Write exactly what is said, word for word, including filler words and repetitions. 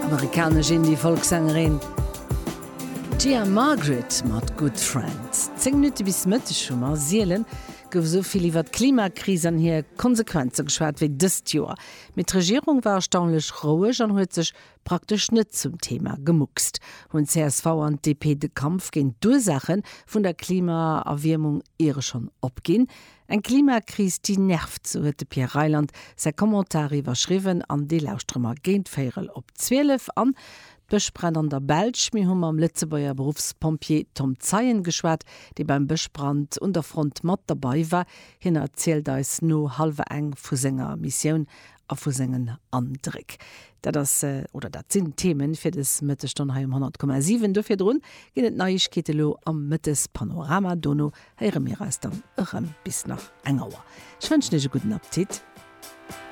Amerikanesch Indie-Folk-Sängerin Gia Margaret mat Good Friend. Zéng Minutte bis Mëtteg hu mer. Sielen gouf esou vill iwwer d'Klimakris an hir Konsequenze geschwat wéi dëst Joer. Mee d'Regierung war erstaunlech roueg an huet sech praktesch net zum Thema gemuckst. Hunn d'CSV an d'DP de Kampf géint d'Ursaache vun der Klimaerwiermung iere schonn opginn? Eng Klimakris déi nervt, sou huet de Pierre Reyland säi Commentar iwwerschriwwen an dee lauschtere mer géint véierel op zwielef an. D'Bëschbränn an der Belsch, Mir hu mam Lëtzebuerger Beruffspompjee Tom Zeien geschwat, dee beim Bëschbrand un der Front mat derbei war. Hien erzielt eis no hallwer eng vu senger Missioun a vu sengen Andréck. Dat ass, oder dat sinn d'Themen fir des Mëttesstonn hei um honnert Komma siwen. Do virdrun ginn et Neiegkeete lo am Mëttespanorama. Dono héiere mir eis dann erëm bis nach eng Auer. Ech wënschen iech e gudden Appetit.